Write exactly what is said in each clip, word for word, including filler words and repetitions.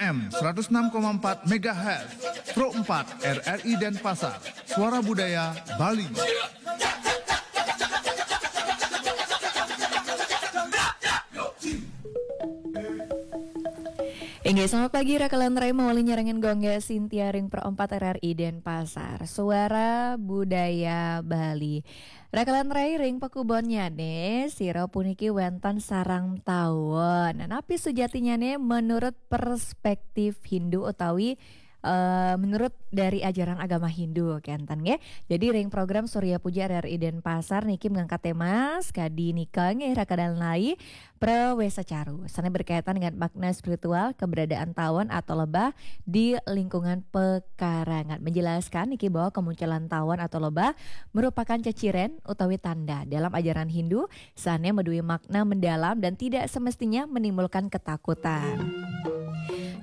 M seratus enam koma empat megahertz, Pro empat R R I Denpasar, Suara Budaya Bali. Inggih, selamat pagi, Raka lan Rai, mawali nyarengin Gung Gek Sintia ring Pro empat R R I Denpasar, Suara Budaya Bali. Raka lan Rai, ring pakubonnyané, sira puniki wénten sareng tawon. Napi sujatinnyané menurut perspektif Hindu utawi eh, menurut dari ajaran agama Hindu, kénten nggih. Jadi ring program Surya Puja R R I Denpasar niki mengangkat tema sakadi nika nggih, Raka lan Rai, Prawesa Caru. Sané berkaitan dengan makna spiritual keberadaan tawon atau lebah di lingkungan pekarangan. Menjelaskan niki bahwa kemunculan tawon atau lebah merupakan ceciren utawi tanda dalam ajaran Hindu sané madué makna mendalam dan tidak semestinya menimbulkan ketakutan.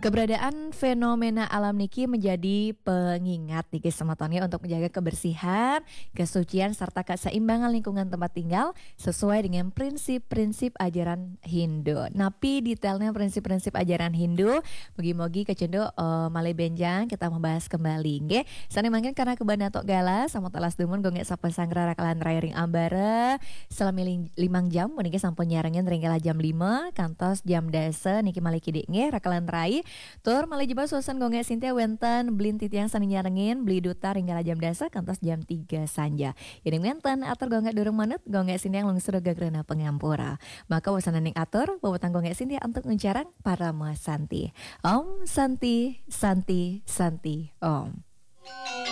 Keberadaan fenomena alam niki menjadi pengingat niki semeton ya untuk menjaga kebersihan, kesucian, serta keseimbangan lingkungan tempat tinggal sesuai dengan prinsip-prinsip ajaran Hindu. Napi detailnya prinsip-prinsip ajaran Hindu? Mugi-mugi kacunduk eh, malih bénjang kita membahas kembali, nggih. Sané mangkin karena kebana tok galah, sampun telas dumun Gung Gek Sapa Sanggra Raka lan Rai ring ambara. Selami ling- limang jam puniki sampun nyarengin ring kala jam lima kantos jam dasa niki malih kidik nggih, Raka lan Rai. Tur malih jebos wénten Gung Gek Sintia wénten beli titiang sané nyarengin, beli duta ring kala jam dasa kantos jam tiga sanja. Yéning wénten atur Gung Gek durung manut, Gung Gek Sintia lungsur gagrena pangampura. Maka wasananing atur, wewetang Gung Gek Sintia antuk nguncarang parama santi. Om Santi, Santi, Santi, Om.